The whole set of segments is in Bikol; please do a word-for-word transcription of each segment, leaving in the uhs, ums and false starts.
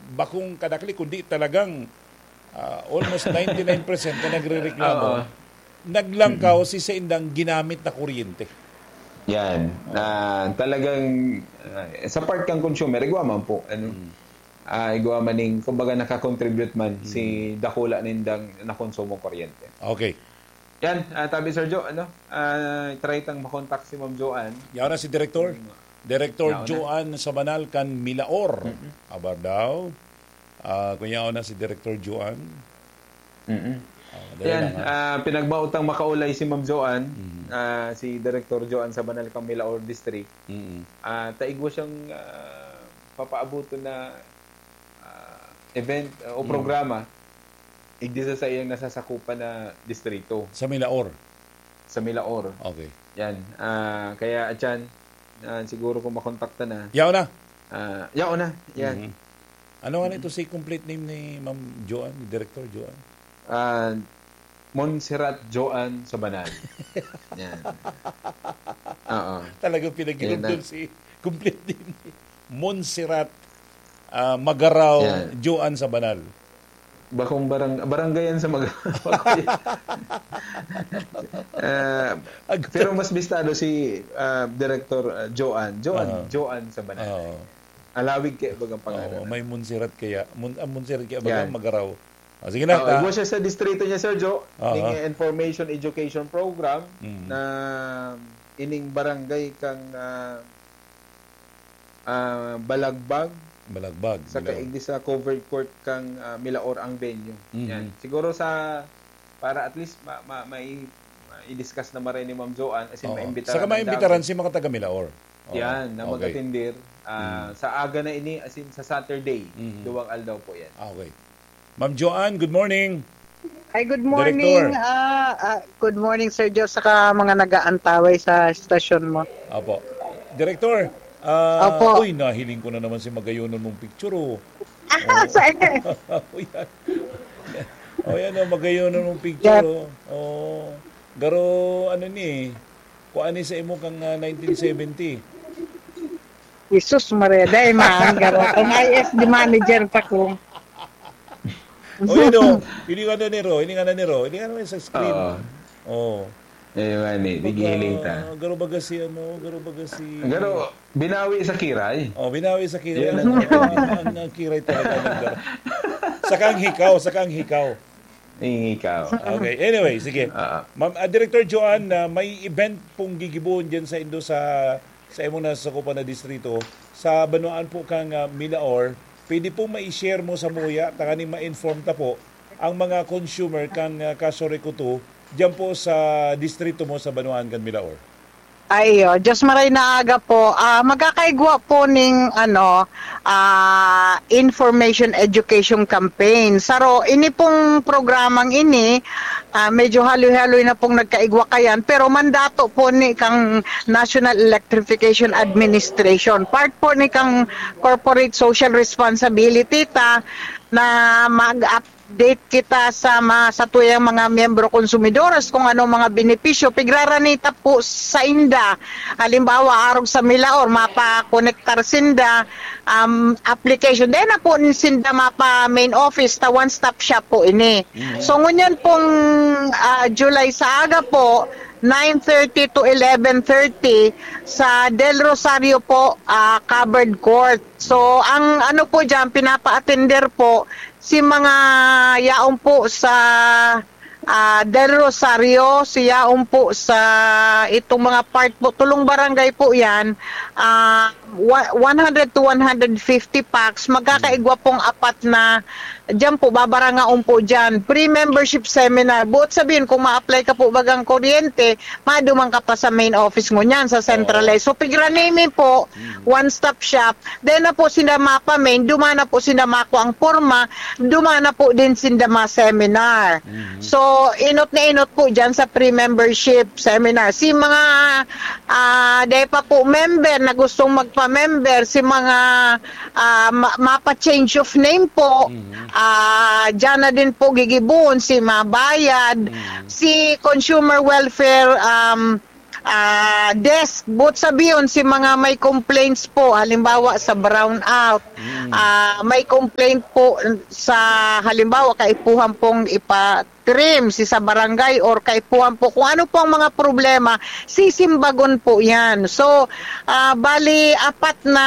bakong kadakli, kundi talagang, ah, almost ninety-nine percent na nagrereklamo, Oo. naglangkaw si saindang ginamit na kuryente. Yan. Ah, talagang, ah, sa part kang consumer, igwa man po, ano? Mm. Ah, igwa man ning, kumbaga, nakakontribute man Mm. si dakula nindang nakonsumong kuryente. Okay. Yan, ah, tabi, Sir Joe, ano? Ah, try tang makontak si Ma'am Joanne. Yaon na si Direktor. Mm. Direktor Yaon na. Joanne Sabanal kan Milaor. Mm-mm. Abar daw. Ah, kung yaon na si Direktor Joanne. Mm-mm. Ah, dali Yan, lang, ha? ah, pinagmautang makaulay si Ma'am Joanne, Mm. ah, si Direktor Joanne Sabanal kan Milaor District. Mm. Ah, taigwa siyang, ah, papaabuton na, ah, event, ah, o Mm. programa, igdi sa saiyang nasasakupan na distrito. Sa Milaor? Sa Milaor. Okay. Yan. Ah, kaya, atyan, ah, siguro kung makontakta na. Yaon na? Ah, yaon na. Yan. Mhm. Ano nga na ito si complete name ni Ma'am Joanne, ni Director Joanne? Ah, Montserrat Joanne Sabanal. Yan. Oo. Talagang Yan na. pinaghinumdom si complete name ni Montserrat, ah, Magaraw Yan. Joanne Sabanal. Bakong barang-, barangay yan sa Mag-, Ah, Ang pero mas bistado si, ah, Director, ah, Joanne. Joanne, Aha. Joanne Sabanal. Oo. Alawig kaya bagang pangalan Oo, na. may Montserrat kaya. Mon-, ang Montserrat kaya bagang Yan. Magaraw. Ah, sige na, Oo, ta- igwa siya sa distrito niya, Sir Joe. Aha. Ning information education program Mm. na ining barangay kang, ah, ah, Balagbag. Balagbag, Sa Milaor. kaigdi sa covered court kang, ah, Milaor ang venue. Mhm. Yan. Siguro sa, para at least ma-, ma-, mai-, ma-, i-discuss na maray ni Ma'am Joanne, as in, Oo. maimbitaran Saka ang maimbitaran damo. si mga taga Milaor. Oo. Yan, na Okay. mag-atindir, ah, Mm. sa aga na ini, as in, sa Saturday, Mhm. duwang aldaw po yan. Ah, okay. Ma'am Joanne, good morning. Ay, good morning, Director. ah, ah, good morning, Sir Joe, saka mga nag-aantaway sa estasyon mo. Apo. Director, ah, Opo. uy, nahiling ko na naman si magayonon mong picture, oh. Ah, Oh. sa Oh, yan. Oh, yan, oh, magayonon mong picture, Yes. oh. Oh. Garo, ano ni, kung ano sa imo kang, ah, nineteen seventy. Jesus Maria, dai man, garo. Kung I S D manager pa ko. O, yun, o. Hilingan na ni Ro, hilingan na ni Ro. Hilingan na sa screen. Oo. Oo. Eh, man, eh, di Baga, gihiling ta. garo baga si, ano, garo baga si Garo, binawi sa kiray. Oh, binawi sa kiray. Yun Ang, ang, ang, ang kiray talaga ng garo. Saka ang hikaw, saka ang hikaw. Ang hikaw. Okay, anyway, sige. Ah. Ma'am, ah, Director Joanne, ah, may event pong gigibohon dyan sa indo sa, sa imong nasasakupan na distrito, sa banwaan po kang, ah, Milaor. Pwede po mai-share mo sa muya, tanganing ma-inform ta po ang mga consumer kan, ah, Casurecoto, diyan po sa distrito mo sa banwaan kan Milaor. Ay, iyo. Diyos maray na aga po. Ah, magkakaigwa po ning, ano, ah, information education campaign. Saro, ini pong programang ini, ah, medyo haloy-haloy na pong nagkaigwa kayan, pero mandato po ni kang National Electrification Administration. Part po ni kang corporate social responsibility ta na mag-update kita sa ma-, sa tuyang mga miyembro konsumidores kung ano mga benepisyo pigrarani ta po sa inda. Halimbawa, arog sa Milaor, mapakonektar sinda, um, application. Then na po sinda mapa main office ta one-stop shop po ini. Mhm. So, ngunyan pong, ah, July sa aga po, nine thirty to eleven thirty sa Del Rosario po, ah, covered court. So, ang ano po diyan, pinapa-attender po si mga yaon po sa, ah, Del Rosario, si yaon po sa itong mga part po, tulong barangay po yan, ah, wa-, one hundred to one hundred fifty pax, magkakaigwa pong apat na diyan po, babarangaon po diyan. Pre-membership seminar. Buot sabihin, kung ma-apply ka po bagang kuryente, maduman ka pa sa main office ngunyan, sa centralized. Oo. So, pigranimi po, Mm. one-stop shop. Then na po sinda mapa-main, duman na po sinda makuha ang porma, duman na po din sinda ma-seminar. Mhm. So, inot na inot po diyan sa pre-membership seminar. Si mga, ah, dahil pa po member na gustong magpa-member, si mga ah, ma-, mapa-change of name po. Mhm. Ah, diyan na din po gigibohon si Mabayad, Mhm. si Consumer Welfare, um, ah, desk, boot sabihon si mga may complaints po, halimbawa sa brownout, Mm. ah, may complaint po sa, halimbawa, kaipuhan pong ipa-trim si sa barangay or kaipuhan po kung ano po ang mga problema, sisimbagon po yan. So, ah, bali, apat na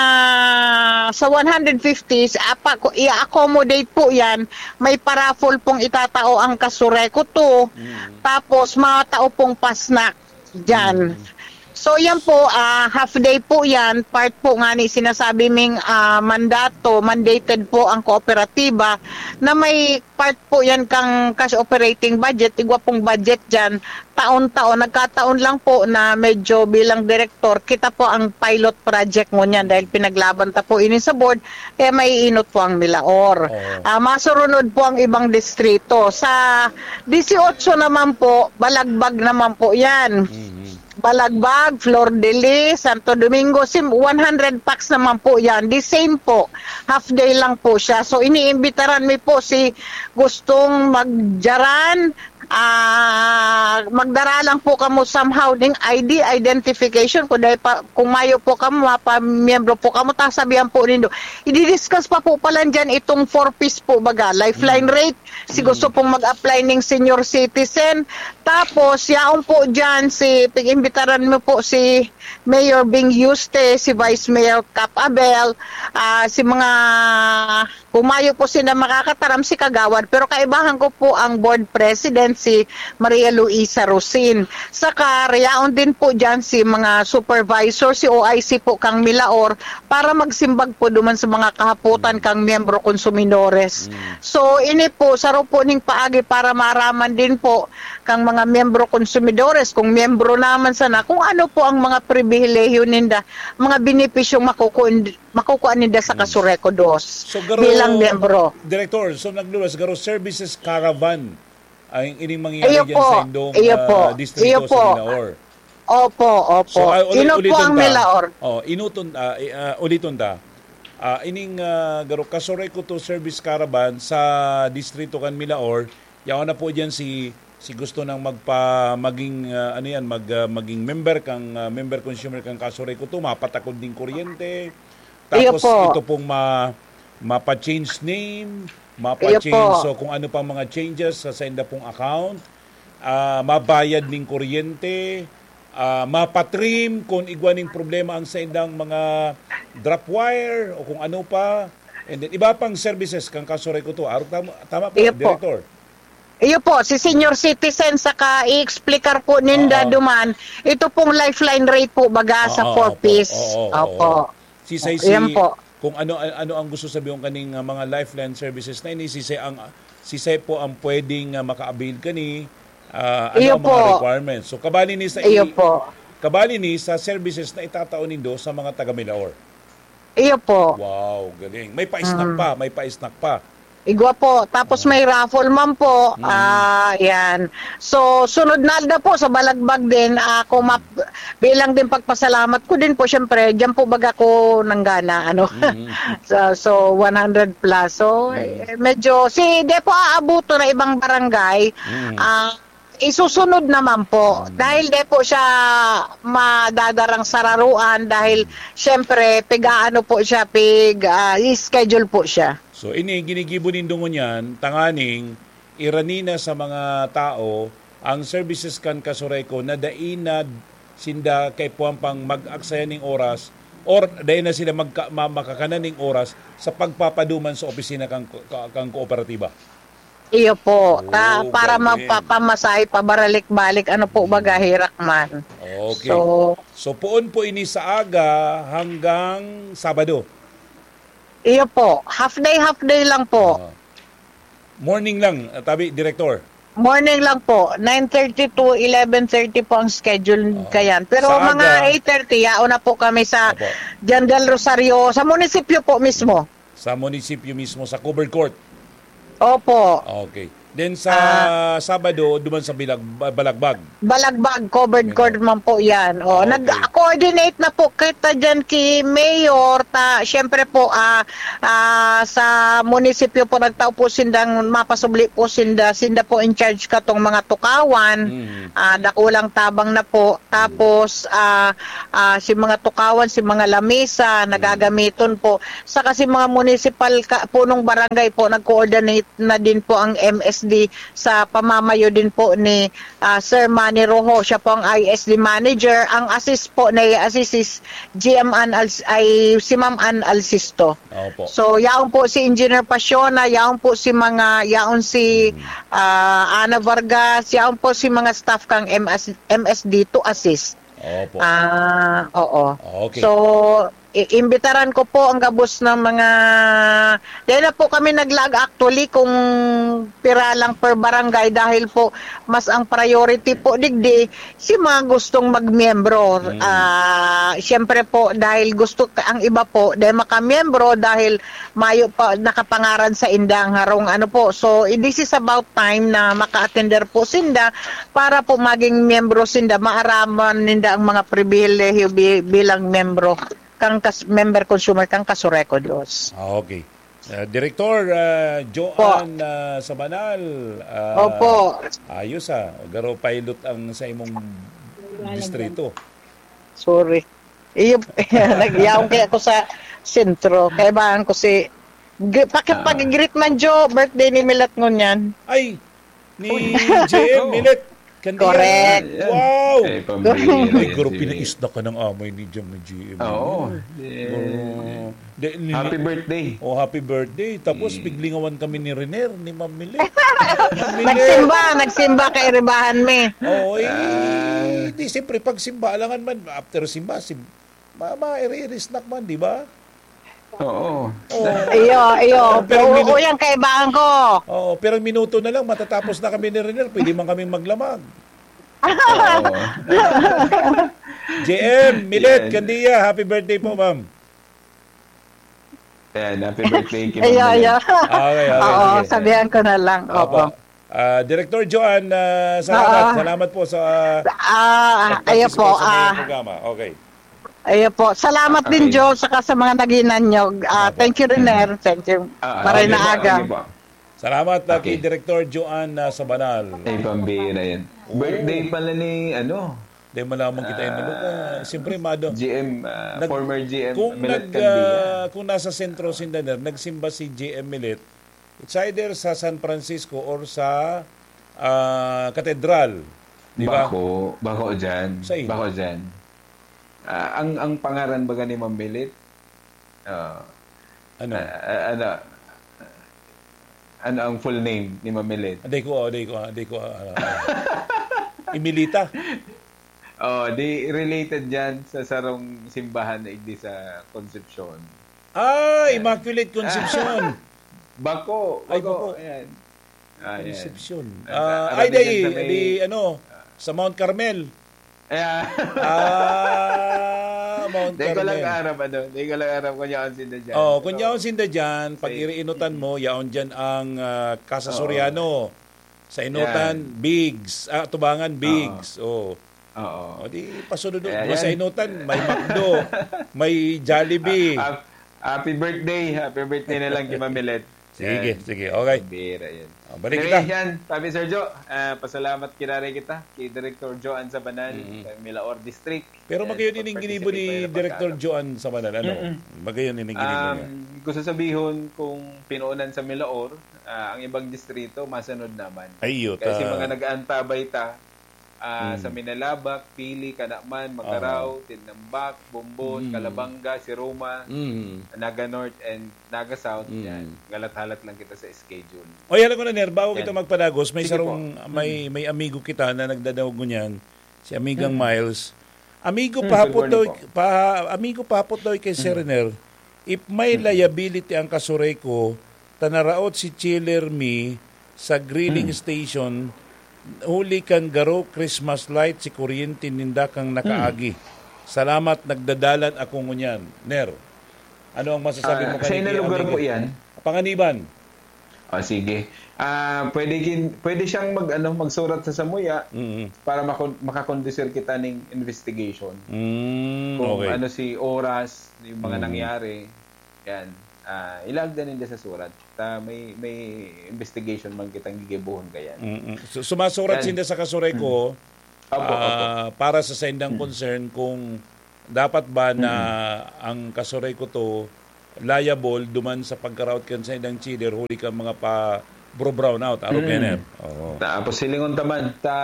sa one hundred fifty, apa, i-accommodate po yan, may paraffle pong itatao ang Kasureko two, Mm. tapos matao pong pasnak dyan. Mm. So yan po, ah, half day po yan, part po nga ni sinasabi ming ah, mandato, mandated po ang kooperatiba na may part po yan kang cash operating budget, igwa pong budget dyan, taon-taon, nagkataon lang po na medyo bilang direktor, kita po ang pilot project ngunyan dahil pinaglaban ta po ini sa board, kaya may inot po ang Milaor. Oo. Ah, masurunod po ang ibang distrito. Sa dieciocho naman po, balagbag naman po yan. Mhm. Balagbag, Flor de Lis, Santo Domingo, sim, one hundred packs naman po yan. The same po. Half day lang po siya. So, iniimbitaran mi po si gustong magjaran, ah, magdara lang po kamo somehow ning I D identification. Kung, dahil pa, kung mayo po kamo, mapamiyembro po kamo, ta sabihan po nindo. I-discuss pa po pala dyan itong four Ps po, baga. Lifeline Mm. rate, si Mm. gusto pong mag-apply ning senior citizen. Tapos, yaon po dyan si, pag-imbitaran mo po si Mayor Bing Yuste, si Vice Mayor Cap Abel, ah, si mga, kung mayo po sila makakataram, si Kagawad. Pero kaibahan ko po ang board president, si Maria Luisa Rosin. Saka, yaon din po dyan si mga supervisor, si O I C po kang Milaor, para magsimbag po duman sa mga kahapotan kang miyembro konsumidores. Mm. So, ini po, saro po ning paagi para maaraman din po kang mga miyembro konsumidores, kung miyembro naman sana, kung ano po ang mga pribilehiyo ninda, mga benepisyong makukuha, makukuha ninda sa Kasureko dos So, garo, bilang miyembro. Director, so nagluwas, garo services caravan ang ining mangyayari Iyo dyan po. sa indong Iyo ah, po. distrito Iyo sa po. Milaor. Opo, opo. So, ah, uli- Inot po uliton ang ta. Milaor. Oh, inuton, ah, i- ah, uliton ta. Ah, ining ah, garo Kasureko two service caravan sa distrito kan Milaor, yaon na po diyan si si gusto nang magpa maging ah, ano yan, mag ah, maging member kang ah, member consumer kang Kasureko two, mapatakod ding kuryente. Iyo Tapos po. ito pong ma mapa-change name, mapa-change Iyo po. So kung ano pang mga changes sa sainda pong account, ah, mabayad ning kuryente, ah, mapa-trim kung igwa ning problema ang saindang mga drop wire o kung ano pa. And then, iba pang services kang Kasureko two. Arog tama, tama po, Iyo po. Director. Iyo po, si senior citizen, saka i-explicar po ninda Oo. duman, ito pong lifeline rate po baga sa Oo, four opo. Ps. Oo, Opo. oo. Si Sai, Yan po. Kung ano ano ang gusto sabihon kaning ah, mga lifeline services na ini, si Sai ang si Sai po ang pwedeng ah, maka-avail kani ah, ano Iyo ang mga po. requirements. So kabali ni sa Iyo po. kabali ni sa services na itatao nindo sa mga taga Milaor. Iyo po. Wow, galing. May pa-snack Mm. pa, may pa-snack pa. Igwa po. Tapos may raffle man po. Mm. Ah, yan. So, sunod na aldaw po sa Balagbag din. Ah, kung map- bilang din pagpasalamat ko din po, syempre, diyan po baga ko nanggana, ano. Mm. so, so, one hundred plus. So, Mm. eh, medyo, si, di po aabuto na ibang barangay. Mm. Ah, isusunod naman po. Mm. Dahil di po siya madadarang sararuan. Dahil, Mm. syempre, pig-aano po siya, pig, ah, schedule po siya. So ini ginigibo nindo ngunyan tanganing irani na sa mga tao ang services kan Kasureko na dai na sinda kaipuhan pang mag-aksaya ning oras or dai na sila magka, ma, makakanan ning oras sa pagpapaduman sa opisina kang, ka, kang kooperatiba. Iyo po. Ta, Oh, para galing. Magpapamasahe pabaralik-balik, ano po Mm. baga, hirak man. Okay. So, So poon po ini sa aga hanggang Sabado. Iyo po. Half day, half day lang po. Ah. Morning lang, ah, tabi, Director. Morning lang po. Nine thirty to eleven thirty po ang schedule Oo. kayan. Pero Sa mga aga. Eight thirty, yaon na po kami sa Opo. Jan del Rosario, sa munisipyo po mismo. Sa munisipyo mismo, sa covered court. Opo. Okay. Then sa Ah. Sabado, duman sa Bilag, Ba- Balagbag. Balagbag, covered Yun, court oh. man po yan. Oh, Okay. nag, ako Coordinate na po kita dyan ki Mayor. Ta, siyempre po, ah, ah, sa munisipyo po, nagtao po sindang mapasubli po sinda. Sinda po in charge katong mga tukawan. Mm. Ah, dakulang tabang na po. Tapos, ah, ah, si mga tukawan, si mga lamesa, nagagamiton po. Saka si mga municipal ka, punong barangay po, nag-coordinate na din po ang M S D sa pamamayo din po ni, ah, Sir Manny Rojo. Siya po ang I S D manager. Ang assist po na i-assist is G M Ann Al-, ay si Ma'am Ann Alsisto. Opo. So, yaon po si Engineer Pasiona, yaon po si mga, yaon si, ah, Ana Vargas, yaon po si mga staff kang M S, M S D to assist. Opo. Ah, oo. Okay. So, i-, imbitaran ko po ang gabos ng mga, dahil na po kami naglaag actually kung pira lang per barangay dahil po mas ang priority po digdi si mga gustong magmiyembro. Mm. Ah, siyempre po dahil gusto ka, ang iba po dahil makamiyembro dahil mayo pa nakapangaran sa indang harong ano po. So, i-, this is about time na maka-attender po sinda para po maging miyembro sinda, maaraman ninda ang mga pribilehiyo bi-, bilang miyembro kang kas-, member consumer kang Kasureco dos. Ah, okay. Ah, Direktor, ah, Joan, Po. ah, Sabanal, ah, Opo. ayos, ah. Garo pilot ang sa imong distrito. Sorry. Iyo, nagyaon kaya ako sa sentro. Kaibahan ko si, gr-, paki-, Ah. pag-greet man, Jo, birthday ni Milet ngunyan. Ay, ni J M Oo. Milet. Candia. Correct. Wow! Eh, pambira Ay, yan, garo, sige. Pinaisda ka ng amay ni Jam ni J M. Oo. Oo. Di, ni-, Happy birthday. Oh, happy birthday. Tapos, Mm. piglingawan kami ni Riner, ni Ma'am Milet. Ma'am Milet. Nagsimba, nagsimba kay Ribahan mi. Oo, eh, Ah. di, siyempre, pag simba, alangan man, after simba, sim-, ma-, ma-iri-iri snack man, di ba? Oo. Oo. Iyo, iyo. Pero Oo, minu- yan, kaibahan ko. Oo, pero minuto na lang, matatapos na kami ni Riner. Pwede man kaming maglamag. Oo. J M, Milet, Yan. Candia, happy birthday po, ma'am. Yan, happy birthday kay Ma'am Iyo, Milet. iyo. Okay, okay, Oo, sige. sabihan ko na lang. Opo. Opo. Ah, Director Joan, ah, salamat. Oo. Salamat po sa Ah, ayo pag-participate po, sa mga ah. programa. Okay. Ayo po. Salamat din, Okay. Jo, saka sa mga naghinanyog. Ah, Opo. thank you, Riner. Thank you. Ah, Maray okay na po, aga. okay po. Salamat, ah, kay Okay. Director Joan, ah, Sabanal. Ay, pambira yan. Oo. Birthday pala ni, ano, Dahil malaman kita yung Ah, maluka. Siyempre, mado-, G M, ah, nag-, former G M kung Milet nag-, Candia. ah, kung nasa sentro si Daner, nagsimba si G M Milet, it's either sa San Francisco or sa, ah, Katedral. Di ba? Bako, bako dyan. Sa ino? Bako dyan. Ah, ang, ang pangaran baga ni Ma'am Milet, ah, Ano? ah, ah, ano, ano ang full name ni Ma'am Milet? Aday ko, aday ko, aday ko, ah, ah. Imilita. Oh, di related dyan sa sarong simbahan na igdi sa Concepcion. Ah, Yan. Immaculate Concepcion. Bako, Ay, bako, bako. Ayan. Ah, yan. Concepcion. Ah, Ah, ay, arabi di, dyan sa may di, ano, sa Mount Carmel. Ayan. Ah, Mount Di ko lang Carmel. aram, ano, di ko lang aram kung yaon sinda dyan. Oh, kung Pero, yaon sinda dyan, pag say, iriinutan mo, yaon dyan ang, ah, Casa Oo. Soriano. Sa inutan, Yan. Bigs. Ah, tubangan, Oo. Bigs. Oh. Oo. O di, pasunod Kaya mo sa yan. inutan, may McDo, may Jollibee. Ah, ah, happy birthday. Happy birthday na lang kay Ma'am Milet. Sige, Yan. sige. Okay. Pambira yan. Ah, balik Anyway, kita. yan. Sabi, Sir Jo, ah, pasalamat kiraray kita kay Director Joan Sabanal, Mm. sa Milaor District. Pero Yan, magayon ining pagparticipate ginibo ni kayo na Director pagkaano. Joan Sabanal, ano? Mm-mm. Magayon ining ginibo niya. Um, gusto sabihon, kung pinuunan sa Milaor, ah, ang ibang distrito, masunod naman. Ay, iyo, Kaya si ta- mga nag-aantabay ta, ah, Mm. sa Minalabac, Pili, Canaman, Macarao, Aha. Tinnambac, Bombon, Mm. Calabanga, Siroma, Mm. Naga North, and Naga South, Mm. yan. Galat-halat lang kita sa schedule. Oy, alam ko na, Ner, bago Yan. kita magpadagos, may Sige sarong, po. may, Mm. may amigo kita na nagdadangog ngunyan, si Amigang Mm. Miles. Amigo, Mm, pahapot good morning daw, po. pa-, amigo, pahapot daw kay Sir Mm. Riner, if may Mm. liability ang Kasureco, ta naraot si chiller mi sa grilling Mm. station, huli kan garo Christmas light si kuryente ninda kang Mm. nakaagi. Salamat, nagdadalan ako ngunyan. Ner, ano ang masasabi Ah, mo sa kanini, inang lugar amigo? po yan? Panganiban. Ah, sige. Ah, pwede kin-, pwede siyang mag-, ano, magsurat sa samuya Mm. para makon-, makakondusir kita ning investigation. Mm, Kung okay. ano si oras, yung mga Mm. nangyari, yan. Ah, ilaag na ninda sa surat. Ta may may investigation man kitang gigibuhon kayan. Mm-mm. So, sumasurat Yan. sinda sa Kasureco Opo, opo. ah, para sa saindang concern kung dapat ba na ang Kasureco to liable duman sa pagkaraot kan saindang cheater huli kan mga pa bro brown out, arog Mm. Kenner. Oo. Tapos hilingon ta man, ta,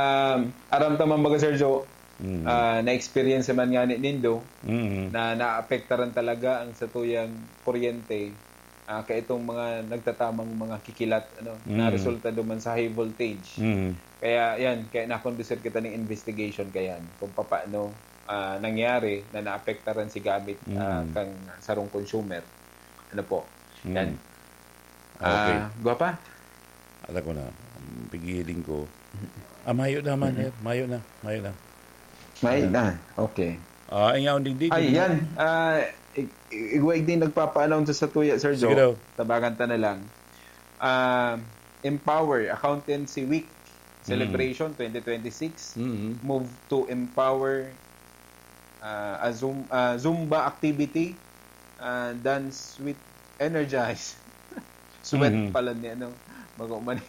aram ta man baga, Sir Joe, Mm. ah, na-experience man nga ni nindo Mm. na naapektaran talaga ang satuyang kuryente, ah, kaitong mga nagtatamang mga kikilat, ano, na Mm. resulta duman sa high voltage. Mm. Kaya yan, kaya nakondusir kita ng investigation kayan kung papaano ah, nangyari na naapektaran si gamit ah, Mm. kang sarong consumer. Ano po? Mm. Yan. Okay. Ah, gwapa? Alam ko na. Ang pigiling ko. Ah, mayo na man, eh. Mayo na. Mayo na. May na. Okay. Ah, ay nga, ang digdig. Ay, yan. Ah, i- i- igwa igdi nagpapa-announce sa tuya, Sir Sige Joe. daw. Tabagan ta na lang. Ah, Empower Accountancy Week Celebration twenty twenty-six. Mm. Move to empower ah, a Zoom, ah, Zumba activity, ah, dance with energize. Sweat Mhm. pala ni ano, bago man.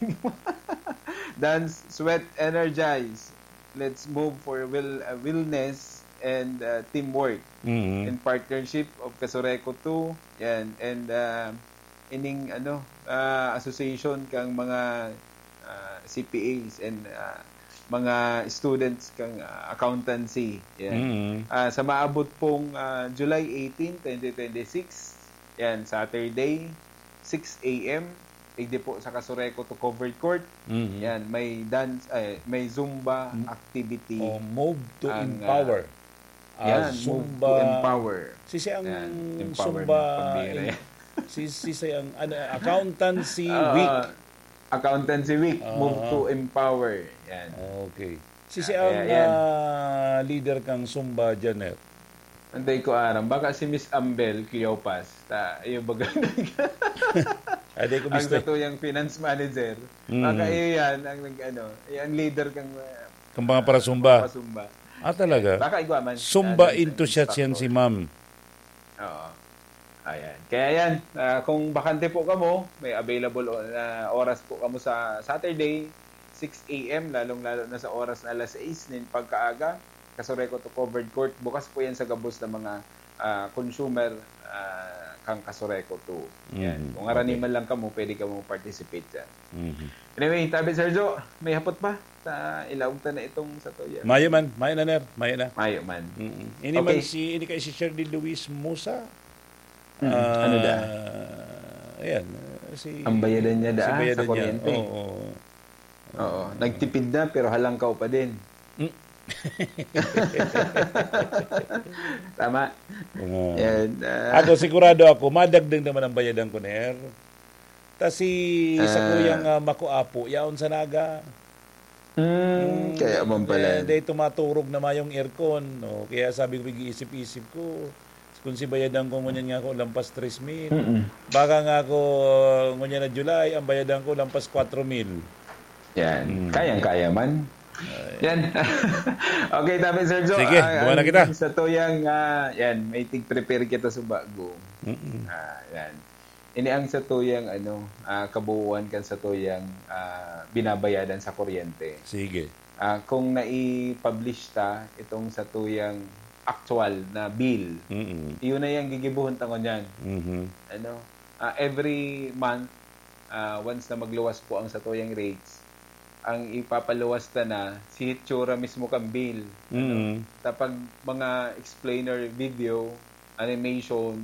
Dance, sweat, energize. Let's move for will, ah, wellness and ah, teamwork Mm. in partnership of Kasureco two. Yan. And ah, ining ano, ah, association kang mga ah, C P As and ah, mga students kang ah, accountancy. Yan. Mm. Ah, sa maabot pong ah, July eighteen, twenty twenty-six, yan, Saturday, six a.m., igdi po sa Kasureco to covered court. Mm. Yan, may dance, ay, may Zumba Mm. activity. Oh, move to Ang, empower. Yan, Ah, move Zumba. To empower. Sisi ang Yan, empowerment, Zumba, pambira in- yan. si, sisi ang ano, accountancy Ah, week. Accountancy Week, Ah. move to empower. Yan. Okay. Sisi Ah, ang kaya yan. ah, leader kang Zumba, Janet. Anday ko aram, baka si Miss Ambel Cleopas, ta, iyo baga Ay, di ko ang gusto. satuyang finance manager. Mm. Baka iyo yan ang nag-ano, eh, ang leader kang uh, Kang mga para-Zumba. Zumba. Ah, talaga? Baka igwa man. Zumba Ah, ng- enthusiast yan si ma'am. Oo. Ayan. Kaya yan, ah, kung bakante po kamo, may available o- na oras po kamo sa Saturday, six a.m., lalong-lalo na sa oras na alas sais nin pagkaaga, Kasureco to covered court. Bukas po yan sa gabos ng mga ah, consumer ah, kang Kasureco two. Yan. Mm, Kung arani okay. man lang kamo, pwede kamo participate dyan. Mhm. Anyway, tabi Sergio, may hapot pa sa ilaog ta na itong sa tuya. Mayo man, mayo na, Ner, mayo na. Mayo man. Mm-mm. Ini man Okay. si, ini kay si Shirley Luis Musa. Mm, ano da? Ayan, si Ang bayadan niya da, si bayadan sa niya. kuryente. Oo. Oo, nagtipid na pero halangkaw pa din. Mm. Tama. Oo. Yan, ah, Ako, sigurado ako, madagdag naman ang bayadan ko, Ner. Ta si sa Ah. kuyang ah, Makuapo, yaon sa Naga. hmm, kaya man pala. Eh, dahil tumaturog na mayong aircon. No? Kaya sabi ko, pag-iisip-isip ko, kung si bayadan ko ngunyan nga ako lampas tres mil, Mm-mm. baka nga ako ngunyan na July, ang bayadan ko lampas kwatro mil. Yan. Mm. Kayang-kaya man. Yan. Okay, tabi Sergio. Sige, Ah, duman na ang kita. Sa tuyang, ah, yan, may tig-prepare kita sa bago. Mm-mm. Ah, yan. Ini ang sa tuyang, ano, ah, kabuuan kan sa tuyang ah, binabayadan sa kuryente. Sige. Ah, kung nai-publish ta itong sa tuyang actual na bill, Mm-mm. iyon na yung gigibuhon ta ngunyan. Mhm. Ano, ah, every month, ah, once na magluwas po ang satuyang rates, ang ipapaluwas ta na si hitsura mismo kang bill. Ano? Mm. Tapag mga explainer video, animation,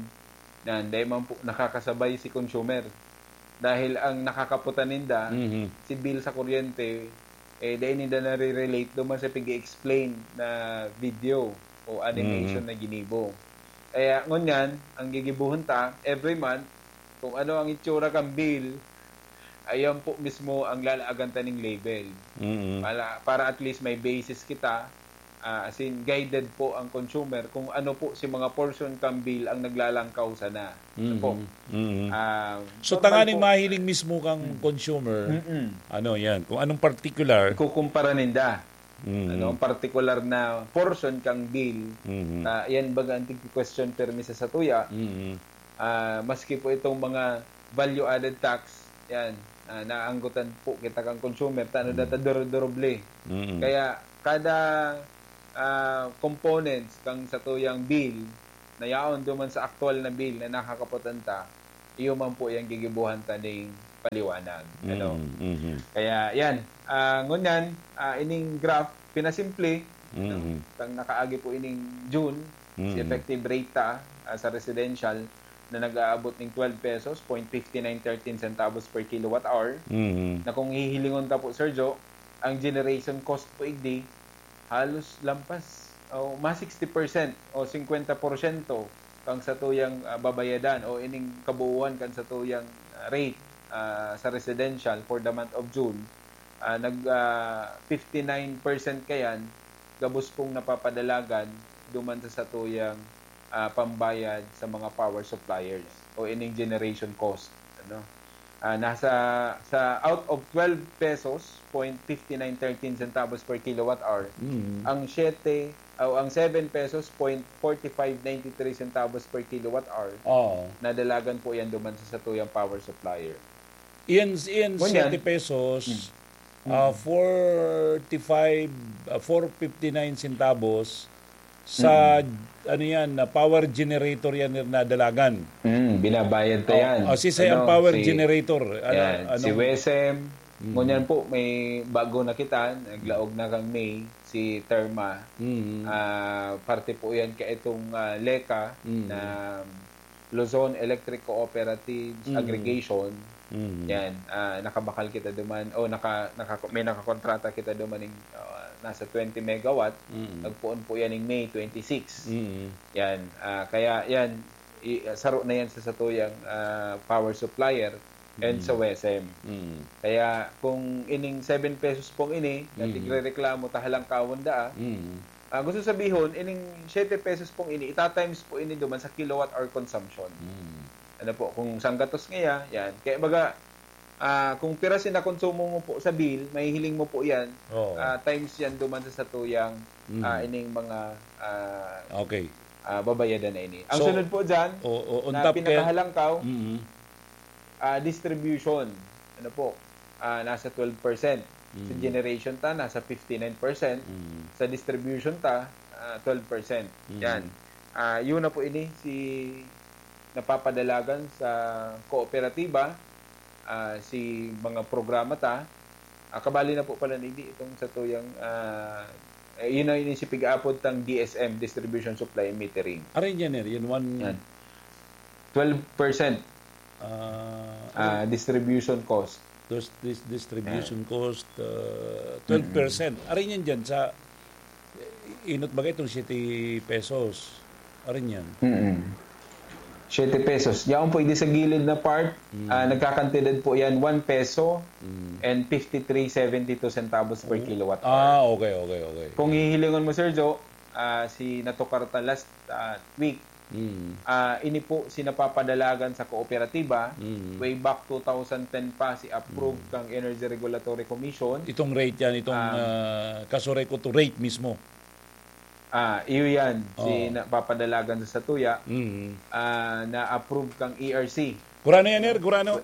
na hindi man po nakakasabay si consumer. Dahil ang nakakaputan ninda, Mhm. si bill sa kuryente, eh, dahil ninda nare-relate duman sa pag-explain na video o animation Mhm. na ginibo. Kaya ngunyan, ang gigibuhon ta, every month, kung ano ang itsura kang bill, ayan po mismo ang lalaagan ta ning label. Mm-mm. Para, para at least may basis kita, ah, as in, guided po ang consumer kung ano po si mga portion kang bill ang naglalangkaw sana. Ano po? Mhm. Mhm. Ah, So, normal tanganing po. mahiling mismo kang consumer, Mm-mm. ano yan, kung anong particular. Ikukumpara ninda. Mhm. Ano, ang particular na portion kang bill, Mhm. ah, yan baga ang tig-question permi sa satuya, Mhm. ah, maski po itong mga value-added tax, yan, ah, naanggotan po kita kang consumer, tano data duro-duroble. Mhm. Kaya kada ah, components kang satuyang bill na yaon duman sa aktual na bill na nakakapotan ta, iyo man po yang gigibuhan ta ning paliwanag. Ano? Mhm. Mhm. Kaya yan, ah, ngunyan, ah, ining graph, pinasimple, ano? Mhm. Kang nakaagi po ining June, si Mhm. effective rate ta ah, sa residential na nag-aabot ning twelve pesos, point fifty nine thirteen centavos per kilowatt hour, Mhm. na kung hihilingon ta po, Sir Joe, ang generation cost po igdi, halos lampas o mas sixty percent o singkwenta porsyento kang satuyang ah, babayadan o ining kabuuan kan satuyang ah, rate ah, sa residential for the month of June, ah, nag ah, fifty nine percent kayan gabos pong napapadalagan duman sa satuyang ah, pambayad sa mga power suppliers o ining generation cost, ano. Ah, nasa sa out of twelve pesos, point fifty nine thirteen centavos per kilowatt hour, Mhm. ang siyete o ang seven pesos, point forty five nine three centavos per kilowatt hour, Oo. nadalagan po yan duman sa satuyang power supplier. Iyan, iyan, Ngunyan. siyete pesos, Mm. ah, forty-five, ah, four fifty-nine centavos sa, ano yan, na power generator yan na dalagan. Mm, binabayad ta Oh, yan. oh, si, si ang Ano, power si- generator. Ano, Yan, si anong- WESM. Mm. Ngunyan po, may bago na kita. Naglaog na kang May, si Terma. Mm. Ah, parte po yan ka itong ah, LECA Mm. na Luzon Electric Cooperatives Mm. Aggregation. Mm. Yan, ah, nakabakal kita duman. O, naka, naka, may nakakontrata kita duman ng ah, nasa twenty megawatt. Mm. Nagpoon po yan ng May twenty-six. Mm. Yan, ah, kaya yan, i, saro na yan sa satuyang ah, power supplier and Mm. sa WESM. Mm. Kaya kung ining seven pesos pong ini, na Mm. tigrereklamo ta halangkawon daa, Mm. ah, gusto sabihon, ining siyete pesos pong ini, itatimes po ini duman sa kilowatt hour consumption. Mm. Ano po, kung sanggatos ngaya, yan. Kaya baga, ah, kung pira sinakonsumo mo po sa bill, mahihiling mo po yan, Oo. ah, times yan duman sa satuyang, Mm. ah, ining mga ah, Okay. ah, babayadan na ini. Ang So, sunod po dyan, o, o, on na top kaya- pinakahalangkaw, Mm. ah, distribution. Ano po? Ah, nasa twelve percent. Sa Mm. generation ta, nasa fifty-nine percent. Mm. Sa distribution ta, ah, twelve percent. Mm. Yan. Ah, yun na po ini, si napapadalagan sa kooperatiba, ah, si mga programa ta. Ah, kabali na po pala ni di itong satuyang, ah, eh, yun na yun si pig-apod tang D S M, Distribution, Supply and Metering. Arin yan, eh. Yan, one, Yan. Twelve percent ah, ah, distribution cost. Dos-, dis-, distribution cost, uh, twelve percent. Arin yan dyan sa, eh, inot ba itong siyete pesos? Arin yan. Mm-mm. Siyete pesos. Yaon po, hindi sa gilid na part, Mm. ah, nagkakantidad po yan, one peso Mm. and fifty-three seventy-two centavos per kilowatt hour. Ah, okay, okay, okay. Kung hihilingon mo, Sir Joe, ah, si natukar ta last ah, week, Mm. ah, ini po si napapadalagan sa kooperatiba, Mm. way back two thousand ten pa, si approve kang Energy Regulatory Commission. Itong rate yan, itong Ah. ah, kasureko to rate mismo. Ah, iyo yan, si Oo. napapadalagan sa satuya, Mm. ah, na-approve kang E R C. Gurano yan, er? Gurano?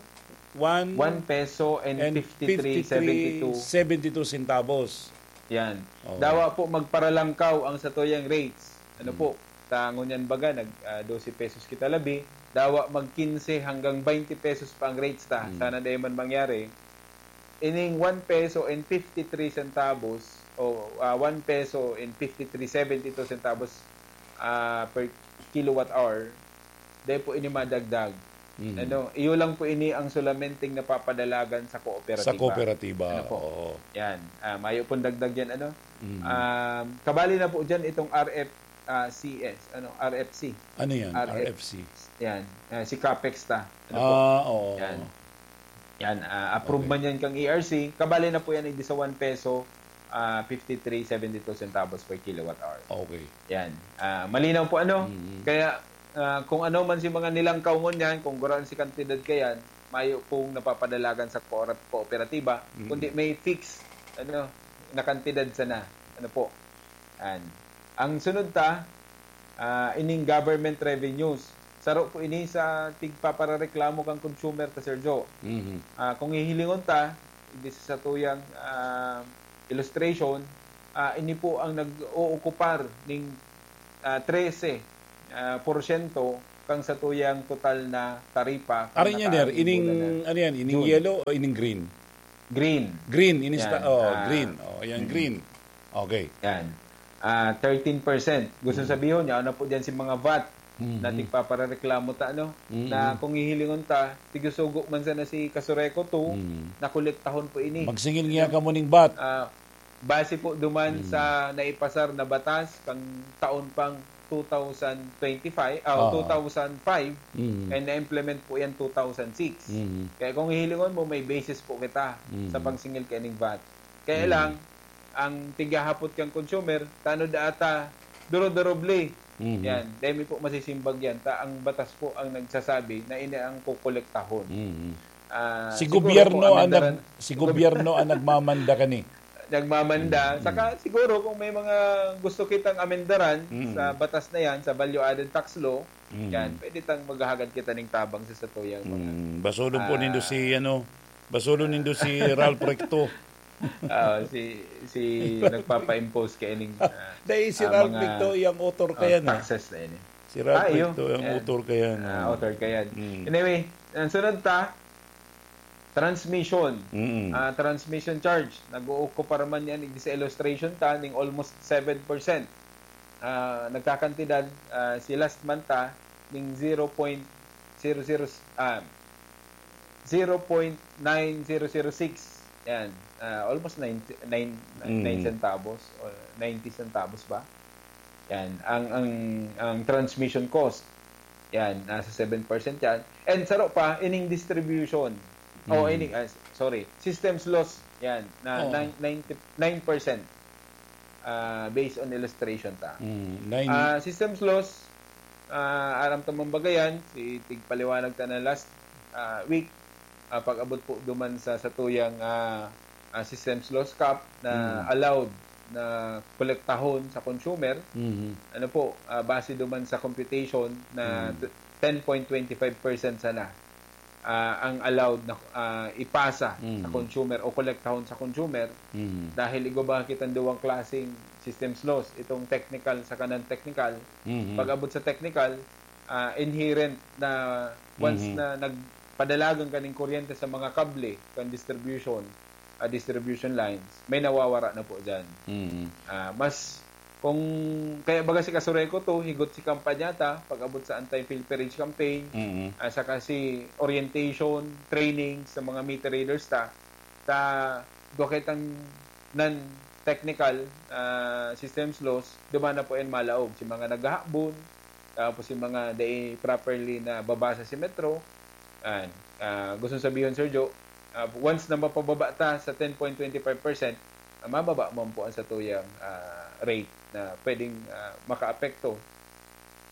One, One peso and, and fifty-three seventy-two. Seventy-two centavos. Yan. Oo. Dawa po magparalangkaw ang satuyang rates. Ano Mm. po? Ta ngunyan baga, nag ah, dose pesos kita labi. Dawa mag quince hanggang twenty pesos pa ang rates ta. Mm. Sana dai man mangyari. Ining one peso and fifty-three centavos o ah, one peso and fifty-three seventy-two centavos ah, per kilowatt hour, dai po ini madagdag. Mm. Ano, iyo lang po ini ang solamenteng napapadalagan sa kooperatiba. Sa kooperatiba. Ano po? Oo. Yan. Ah, mayo pong dagdag yan, ano? Mm. Um, kabali na po dyan itong R F, ah, C S, ano, R F C. Ano yan? R F. R F C. Yan. Ah, si Capex ta. Ano po? Ah, oo. Yan. Yan. Ah, approve Okay. man yan kang E R C. Kabali na po yan, hindi sa one peso ah, fifty-three seventy-two centavos per kilowatt hour. Okay. Yan. Ah, malinaw po, ano? Mm. Kaya, ah, kung ano man si mga nilangkaw ngunyan, kung gurang si kantidad kayan, mayo pong napapadalagan sa koora-, kooperatiba, Mm. kundi may fix, ano, na kantidad sana. Ano po? Yan. Ang sunod ta, ah, ining government revenues. Saro po ini sa tigpaparareklamo kan consumer ta, Sir Joe. Mhm. Ah, kung hihilingon ta, digdi sa satuyang, ah, illustration, ah, ini po ang nag-ookupar ning, ah, trese, ah, porsyento kang satuyang total na taripa. kang Arin yan, sir. nakaimbulan Ining, na ano yan, ining June. Yellow o ining green? Green. Green, ining Yan. sta- oh, Ah, green. Oh, yan, mm. Green. Okay. Yan. Ah, thirteen percent. Gusto Mm. sabihin, yan na po dyan si mga vat Mhm. na tigpaparareklamo ta, ano? Mhm. Na kung hihilingon ta, tigsusugo man sana si Kasureco two, Mhm. nakolektahon po ini. Magsingil niya ka mo ning bat. Ah, base po duman Mm. sa naipasar na batas kang taon pang two thousand twenty-five, ah, Oo. two thousand five, Mhm. and na-implement po yan two thousand six. Mhm. Kaya kung hihilingon mo, may basis po kita Mm. sa pagsingil kaining vat. Kaya Mm. lang, ang tigyahapot kang consumer, tano da ata, duro-duroble. Mhm. Yan. Dahil may po masisimbag yan. Ta, ang batas po ang nagsasabi na ini ang kukolektahon. Mhm. Ah, Si siguro gobyerno po, ang amendaran, nag-, si gobyerno ang nagmamanda kani. nagmamanda. Mm, Saka siguro kung may mga gusto kitang amendaran Mm. sa batas na yan, sa value-added tax law, Mm. yan, pwede tang maghahagad kita ning tabang sa satuyang mga. Mm. Basulon po Ah. nindo si, ano, basulon nindo si Ralph Recto. Ah, si, si nagpapa-impose kaining, ah, Dahil si ah, Ralph mga, Recto, iyang author ah, kayan, eh. taxes na ini. Si Ralph Ah, iyo. Recto, iyang Yan. author kayan. Ah, author kayan. Mm. Anyway, ang sunod ta, transmission. Mm. Ah, transmission charge. Nag-ookupar man yan, igdi sa illustration ta, ning almost seven percent. Ah, nagkakantidad, ah, si last month ta, ning zero point zero zero, ah, zero point nine zero zero six. Yan. Ah, almost nine, nine, Mm. nine centavos o ninety centavos ba? Yan. Ang, ang, ang transmission cost. Yan. Nasa seven percent yan. And saro pa, ining distribution. O, Mm. ining, ah, sorry, systems loss. Yan. Na Oo. nine, ninety, nine percent. Ah, based on illustration ta. Mm. Nine. Ah, systems loss, ah, aram ta man baga yan, si tigpaliwanag ta na last, ah, week, ah, pag-abot po duman sa satuyang, ah, ah, systems loss cap na Mm. allowed na kolektahon sa consumer. Mhm. Ano po, ah, base duman sa computation na Mm. t-, ten point twenty five percent sana, ah, ang allowed na, ah, ipasa Mm. sa consumer o kolektahon sa consumer. Mhm. Dahil igwa ba kitang duwang klaseng systems loss, itong technical saka non-technical. Mhm. Pag-abot sa technical, ah, inherent na once Mhm. na nagpadalagan kaning kuryente sa mga kable, kan distribution, ah, distribution lines, may nawawara na po dyan. Mhm. Ah, mas, kung, kaya baga si Kasureco to, higot si kampanya ta, pag-abot sa anti-pilferage campaign, Mhm. ah, saka si orientation, training sa mga meter readers ta, ta, duwa kitang non-technical, ah, systems loss, duman na po yan malaog. Si mga naghahabon, tapos yung mga dai properly na babasa si Metro, yan. Ah, gusto sabihon, Sir Joe, ah, once na mapababa ta sa ten point twenty five percent, ah, mababa man po ang satuyang, ah, rate na pwedeng, ah, makaapekto,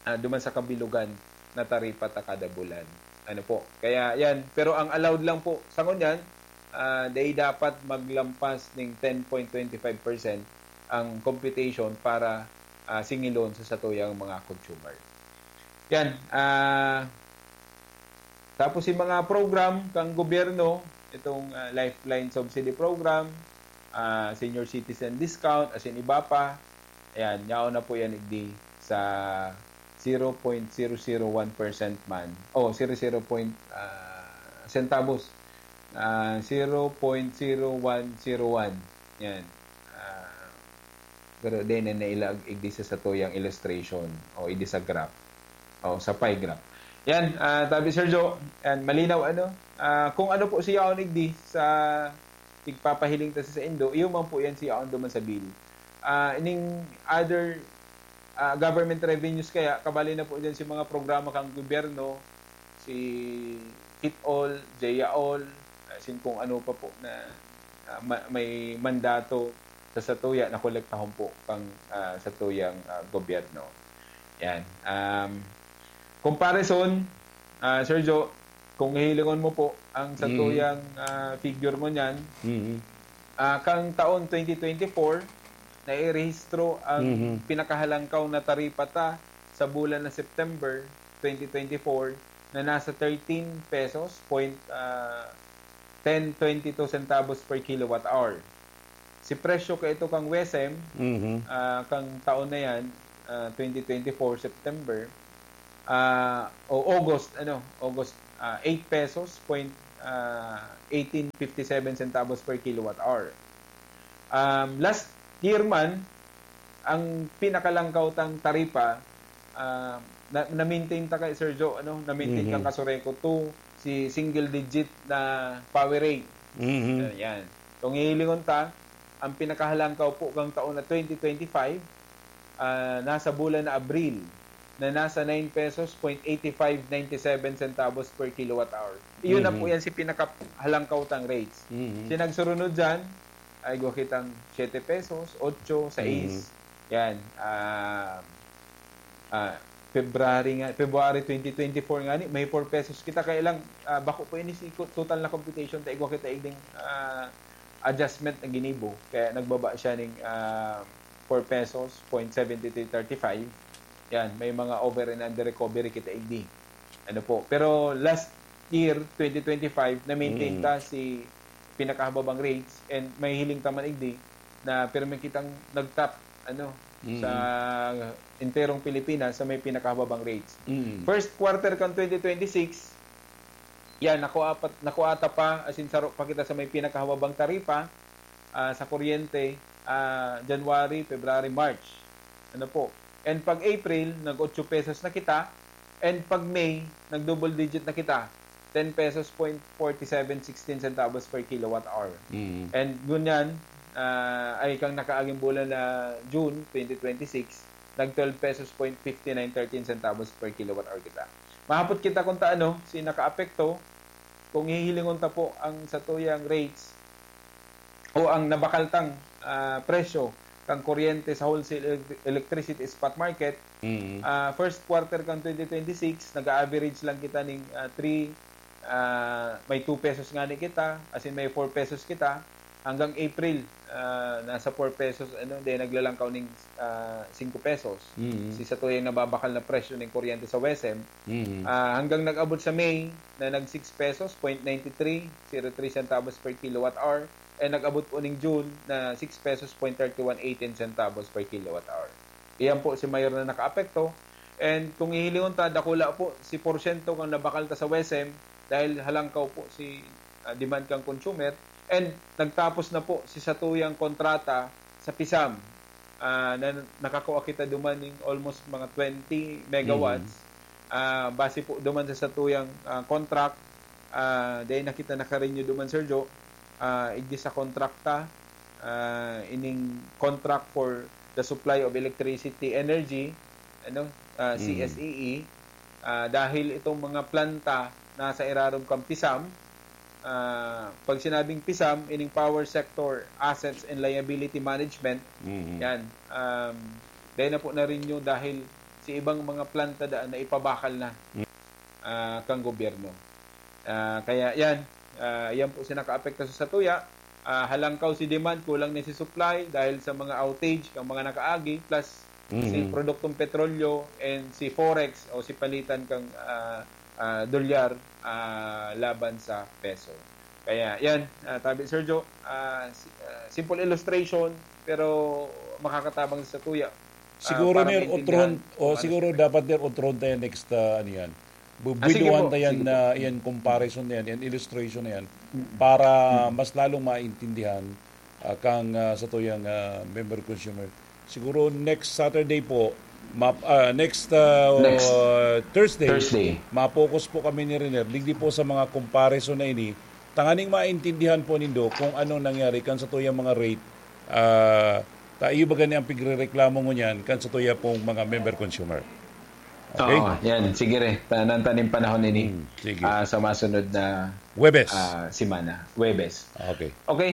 ah, duman sa kabilugan na taripa ta kada bulan. Ano po? Kaya yan. Pero ang allowed lang po sa ngunyan, ah, dai dapat maglampas ning ten point twenty five percent ang computation para, ah, singilon sa satuyang mga consumer. Yan. Ah, tapos yung mga program kang gobyerno, itong, ah, Lifeline Subsidy Program, ah, Senior Citizen Discount, asin iba pa, ayan, yaon na po yan igdi sa zero point zero zero one percent man. O, zero zero point, ah, centavos. Ah, zero point zero one zero one. Yan. Ah, pero di na nailag igdi sa satuyang illustration o igdi sa graph. O, sa pie graph. Yan, ah, tabi Sir Joe, yan, malinaw, ano? Ah, kung ano po siya on igdi sa tigpapahiling ta sa saindo, iyo man po yan siya on duman sa bill. Ah, ining other, ah, government revenues kaya, kabali na po dyan si mga programa kang gobyerno, si Fit All, J A All, asin kung ano pa po na, ah, ma-, may mandato sa tuya na kolektahon po kang, ah, sa tuyang, ah, gobyerno. Yan. Um, comparison, ah, Sir Jo, kung hihilingon mo po ang sa Mm. tuyang, ah, figure mo niyan, Mhm. ah, kang taon twenty twenty-four, nairehistro ang Mhm. pinakahalangkaw na taripa ta sa bulan na September twenty twenty-four na nasa thirteen pesos point, ah, ten twenty-two centavos per kilowatt hour. Si presyo ka ito kang WESM, Mhm. ah, kang taon na yan, ah, twenty twenty-four September, ah, o August, ano, August, ah, eight pesos point, ah, eighteen fifty-seven centavos per kilowatt hour. Um, last year man, ang pinakalangkaw tang taripa, ah, na, na-maintain ta kay Sir Jo, ano, na-maintain Mhm. kang Casureco two, si single digit na power rate. Mhm. Yan. Kung hihilingon ta, ang pinakahalangkaw po kang taon na twenty twenty-five, ah, nasa bulan na Abril, na nasa nine pesos point eighty-five ninety-seven centavos per kilowatt hour. Iyon na po Mhm. yan si pinakahalangkaw tang rates. Mhm. Si nagsurunod dyan, ay gwa kitang siete pesos, otso, sais. Mhm. Yan. Ah, ah, February nga, February twenty twenty-four nga ni, may four pesos kita. Kaya lang, ah, bako po ini si ko-, total na computation, ta igwa kita igding, ah, adjustment na ginibo. Kaya nagbaba siya ning, ah, four pesos, point seventy three thirty-five. Yan, may mga over and under recovery kita igdi. Ano po. Pero last year, twenty twenty-five, na-maintain Mm. ta si pinakahababang rates and may hiling ta man igdi na pirmi kitang nag-top, ano, Mm. sa enterong Pilipinas sa may pinakahababang rates. Mm. First quarter kan twenty twenty-six, yan, nakuha pa, nakuha ta pa, as in, saro pa kita sa may pinakahababang taripa, ah, sa kuryente, ah, January, February, March. Ano po? And pag April, nag-otso pesos na kita. And pag May, nag-double digit na kita. Ten pesos point forty-seven sixteen centavos per kilowatt hour. Mm. And ngunyan, ah, ay kang nakaaging bulan na June twenty twenty-six, nag twelve pesos point fifty-nine thirteen centavos per kilowatt hour kita. Mahapot kita kung ta ano, si nakaapekto, kung hihilingon ta po ang satuyang rates o ang nabakaltang, ah, presyo kang kuryente sa wholesale elec-, electricity spot market, Mm. ah, first quarter kang twenty twenty-six, nag-a-average lang kita ning, ah, three, ah, may two pesos ngani kita, as in may four pesos kita, hanggang April, ah, nasa four pesos, ano, then naglalangkaw ning, ah, singko pesos. Mm. Si satuyang nababakal na presyo ning kuryente sa WESM, Mm. ah, hanggang nag-abot sa May na nag six pesos point ninety three zero three centavos per kilowatt hour, and nag-abot po ning June na six pesos point thirty-one eighteen centavos per kilowatt hour. Iyan po si mayor na nakaapekto. And kung hihilingon ta, dakula po si porsyento kang nabakal ta sa WESM dahil halangkaw po si, ah, demand kang consumer. And nagtapos na po si satuyang kontrata sa PISAM, ah, na nakakua kita duman ning almost mga twenty megawatts. Mm. Ah, base po duman sa satuyang, ah, contract, ah, dai na kita naka-renew duman, Sir Jo. Ah, igdi sa contract ta, ah, ining contract for the supply of electricity energy, ano, ah, Mm. C S E E, ah, dahil itong mga planta nasa irarom kan PISAM, ah, pag sinabing PISAM, ining Power Sector Assets and Liability Management, Mm. yan, um, dahil na po na-renew dahil sa ibang mga planta daan na ipabakal na, Mm. ah, kang gobyerno. Ah, kaya yan, ah, yan po si nakaapekta sa satuya. Ah, halangkaw si demand, kulang na si supply dahil sa mga outage kang mga nakaagi, plus si Mm. produktong petrolyo and si forex o si palitan kang, ah, ah, dolyar, ah, laban sa peso. Kaya yan, ah, tabi Sergio, ah, si-, ah, simple illustration pero makakatabang sa tuya. Ah, Siguro, para Ner, maintindihan utrohon, o kung ano siguro sa dapat, Ner, utrohon tayo next, ah, ano yan. Bu-, Ah, sige buwiduhan po, tayo yan sige po. na yan, comparison na yan, yan, illustration na yan, Mm. para Mm. mas lalong maintindihan, ah, kang, ah, sa tuyang, ah, member consumer. Siguro next Saturday po, map-, ah, next, ah, Next Thursday, Thursday. ma-focus po kami ni Riner. Digdi po sa mga comparison na ini, tanganing maintindihan po nindo kung anong nangyari kan sa tuyang mga rate, ah, ta iyo ba gani ang pigrereklamo ngunyan kan sa tuya pong mga member consumer? Okay? Oo, yan. Sige re. Tanan taning panahon ini, Hmm, sige. ah, sa masunod na, Huwebes. ah, semana. Huwebes. Okay. Okay.